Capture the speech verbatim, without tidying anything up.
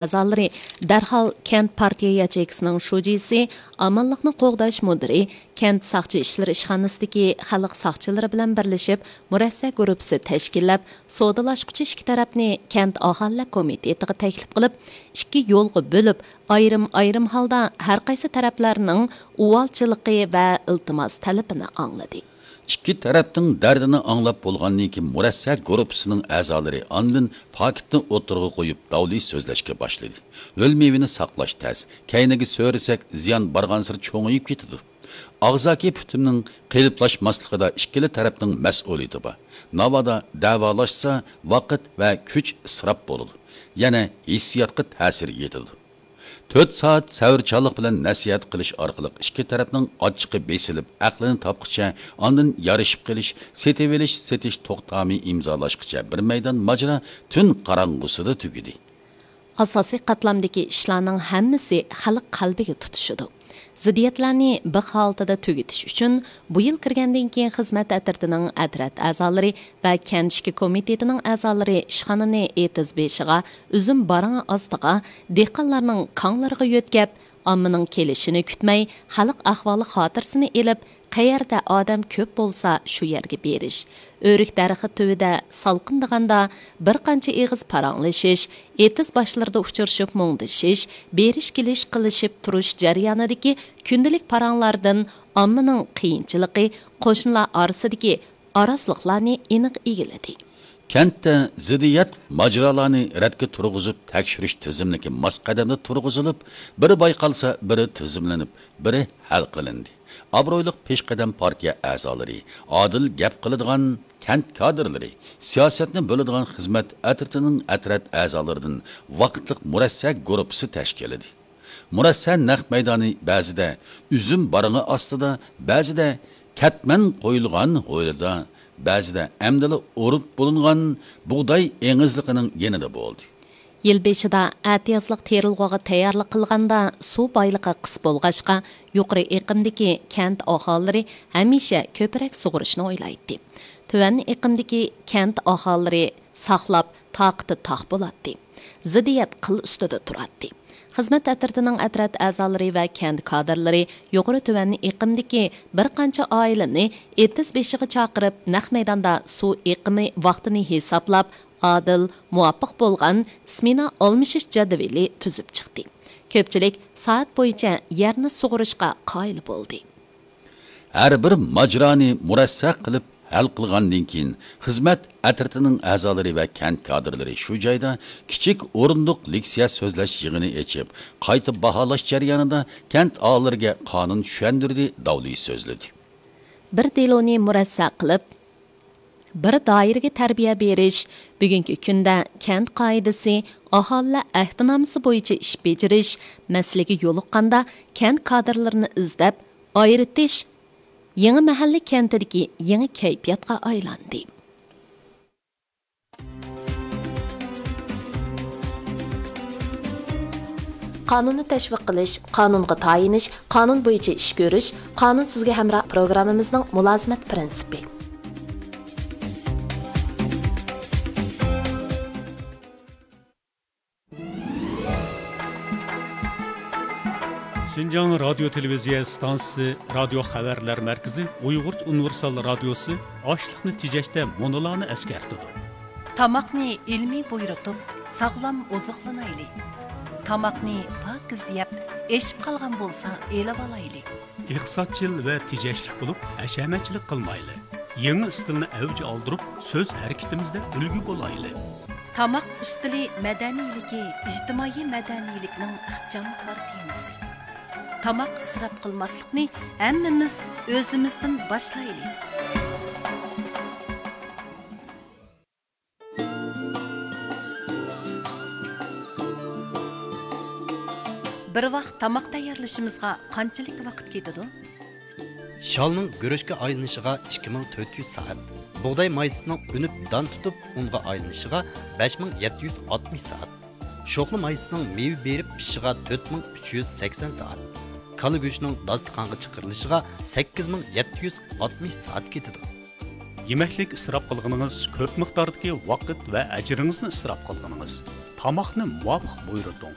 ئەزالىرى دەرھال كەنت پارتىيە ياچېيكىسىنىڭ شۇجىسى، ئامانلىقنى قوغداش مۇدىرى، كەنت ساقچى ئىشلىرى ئىشخانىسىدىكى خەلق ساقچىلىرى بىلەن بىرلىشىپ، مۇرەسسە گۇرۇپپىسى تەشكىللەپ، سودىلاشقۇچى ئىككى تەرەپنى كەنت ئاھالىلەر كومىتېتىغا تەكلىپ قىلىپ، ئىككى يولغا بۆلۈپ، ئايرىم-ئايرىم ھالدا ھەر قايسى تەرەپلەرنىڭ ئۇۋالچىلىقى ۋە ئىلتىماس تەلىپىنى ئاڭلىدى. ئىككى تەرەپنىڭ دەردىنى ئاڭلاپ بولغاندىن كېيىن، مۇرەسسە گۇرۇپپىسىنىڭ ئەزالىرى ئاندىن پاكىتنى ئوتتۇرىغا قويۇپ، داۋلى سۆزلەشكە باشلىدى. ھۆل مېۋىنى ساقلاش تەس، كەينىگە سۆرىسەك، زىيان بارغانسېرى چوڭىيىپ كېتىدۇ. ئاغزاكى پۈتۈمنىڭ قېلىپلاشماسلىقىدا ئىككىلا تەرەپنىڭ مەسئۇلىيىتى بار. ناۋادا دەۋالاشسا، ۋاقىت ۋە كۈچ ئىسراپ بولىدۇ، يەنە ھېسسىياتقا تەسىر يېتىدۇ. تۆت سائەت سەۋرچانلىق بىلەن نەسىھەت قىلىش ئارقىلىق ئىككى تەرەپنىڭ ئاچچىقى بېسىلىپ، ئەقلىنى تاپقۇچە، ئاندىن يارىشىپ قېلىش، سېتىۋېلىش، سېتىش توختامى ئىمزالاشقىچە بىر مەيدان ماجىرا تۈن قاراڭغۇسىدا تۈگىدى. ئاساسىي قاتلامدىكى ئىشلارنىڭ ھەممىسى خەلق قەلبىگە تۇتىشىدۇ. زىددىيەتلەرنى بىخ ھالىتىدە تۈگىتىش ئۈچۈن، بۇ يىل كىرگەندىن كېيىن خىزمەت ئەترىتىنىڭ ئەترەت ئەزالىرى ۋە كەنت ئىشكى كومىتېتىنىڭ ئەزالىرى ئىشخانىنى ئېتىز بېشىغا، ئۈزۈم بارىڭى ئاستىغا، دېھقانلارنىڭ كاڭلىرىغا يۆتكەپ، ئاممىنىڭ كېلىشىنى كۈتمەي، خەلق ئەھۋالى خاتىرىسىنى ئېلىپ، قەيەردە ئادەم كۆپ بولسا، شۇ يەرگە بېرىش، ئۆرۈك دەرىخى تۈۋىدە سالقىندىغاندا بىر قانچە ئېغىز پاراڭلىشىش، ئېتىز باشلىرىدا ئۇچرىشىپ مۇڭدىشىش، بېرىش-كېلىش قىلىشىپ تۇرۇش جەريانىدىكى كۈندىلىك پاراڭلاردىن ئاممىنىڭ قىيىنچىلىقى، قوشنىلار ئارىسىدىكى ئاراسلىقلارنى ئېنىق ئىگىلىدى. كەنتتە زىددىيەت ماجىرالارنى رەتكە تۇرغۇزۇپ تەكشۈرۈش تىزىملىكى ماس قەدەمدە تۇرغۇزۇلۇپ، بىرى بايقالسا، بىرى تىزىملىنىپ، بىرى ھەل قىلىندى. ئابرۇيلۇق پېشقەدەم پارتىيە ئەزالىرى، ئادىل گەپ قىلىدىغان كەنت كادىرلىرى، سىياسەتنى بۆلىدىغان خىزمەت ئەترىتىنىڭ ئەترەت ئەزالىرىدىن ۋاقىتلىق مۇرەسسە گۇرۇپپىسى تەشكىللىدى. مۇرەسسە نەق مەيدانى بەزىدە ئۈزۈم بارىڭى ئاستىدا، بەزىدە كەتمەن قويۇلغان ھويلىدا، بەزىدە ئەمدىلا ئورۇپ بولۇنغان بۇغداي ئېڭىزلىقىنىڭ يېنىدا بولدى. يىل بېشىدا ئەتىيازلىق تېرىلغۇغا تەييارلىق قىلغاندا، سۇ بايلىقى قىس بولغاچقا، يۇقىرى ئېقىمدىكى كەنت ئاھالىلىرى ھەمىشە كۆپرەك سۇغۇرۇشنى ئويلايتتى. تۆۋەن ئېقىمدىكى كەنت ئاھالىلىرى ساقلاپ، تاقىتى تاق بولاتتى. زىددىيەت قىل ئۈستىدە تۇراتتى. خىزمەت ئەترىتىنىڭ ئەترەت ئەزالىرى ۋە كەنت كادىرلىرى يۇقىرى تۆۋەن ئېقىمدىكى بىر قانچە ئائىلىنى ئېتىز بېشىغا چاقىرىپ، نەق مەيداندا سۇ ئېقىمى ۋاقتىنى ھېسابلاپ، ئادىل، مۇۋاپىق بولغان سمېنا ئالمىشىش جەدۋىلى تۈزۈپ چىقتى. كۆپچىلىك سائەت بويىچە يەرنى سۇغۇرۇشقا قايىل بولدى. ھەر بىر ماجىرانى مۇرەسسە قىلىپ ھەل قىلغاندىن كېيىن، خىزمەت ئەترىتىنىڭ ئەزالىرى ۋە كەنت كادىرلىرى شۇ جايدا كىچىك ئورۇندۇق لېكسىيە سۆزلەش يىغىنى ئېچىپ، قايتا باھالاش جەريانىدا كەنت ئاھالىلىرىگە قانۇن چۈشەندۈردى، داۋلى سۆزلىدى. بىر دېلونى مۇرەسسە قىلىپ، بىر دائىرىگە تەربىيە بېرىش، بۈگۈنكى كۈندە كەنت قائىدىسى، ئاھالىلەر ئەھدىنامىسى بويىچە ئىش بېجىرىش مەسىلىگە يولۇققاندا، كەنت كادىرلىرىنى ئىزدەپ، ئايرىتىش يېڭى مەھەللە كەنتىدىكى يېڭى كەيپىياتقا ئايلاندى. قانۇننى تەشۋىق قىلىش، قانۇنغا تايىنىش، قانۇن بويىچە ئىش كۆرۈش، قانۇن سىزگە ھەمراھ پروگراممىمىزنىڭ مۇلازىمەت پىرىنسىپى. شىنجاڭ رادىيو تېلېۋىزىيە ئىستانسىسى رادىيو خەۋەرلەر مەركىزى ئۇيغۇرچە ئۇنىۋېرسال رادىيوسى ئاشلىقنى تېجەشتە مۇنۇلارنى ئەسكەرتىدۇ. تاماقنى ئىلمىي بۇيرۇتۇپ، ساغلام ئوزۇقلىنايلى. تاماقنى پاكىز يەپ، ئېشىپ قالغان بولسا ئېلىۋالايلى. ئىقتىسادچىل ۋە تېجەشلىك بولۇپ، ھەشەمەتچىلىك قىلمايلى. يېڭى ئىستىلنى ئەۋج ئالدۇرۇپ، سۆز ھەرىكىتىمىزدە ئۈلگە بولايلى. تاماق ئۈستىلى مەدەنىيلىكى ئىجتىمائىي مەدەنىيلىكنىڭ ئىخچام كارتىنىسى. تاماق ئىسراپ قىلماسلىقنى ھەممىمىز ئۆزىمىزدىن باشلايلى. بىر ۋاق تاماق تەييارلىشىمىزغا قانچىلىك ۋاقىت كېتىدۇ؟ شالنىڭ گۈرۈچكە ئايلىنىشىغا ئىككى مىڭ تۆت يۈز سائەت، بۇغداي مايسىسىنىڭ ئۈنۈپ دان تۇتۇپ ئۇنغا ئايلىنىشىغا بەش مىڭ يەتتە يۈز ئاتمىش سائەت، شوخلا مايسىسىنىڭ مېۋە بېرىپ پىشىشىغا تۆت مىڭ ئۈچ يۈز سەكسەن سائەت، كالا گۆشىنىڭ داستىخانغا چىقىرىلىشىغا سەككىز مىڭ يەتتە يۈز ئاتمىش سائەت كېتىدۇ. يېمەكلىك ئىسراپ قىلغىنىڭىز كۆپ مىقداردىكى ۋاقىت ۋە ئەجرىڭىزنى ئىسراپ قىلغىنىڭىز. تاماقنى مۇۋاپىق بۇيرۇتۇڭ.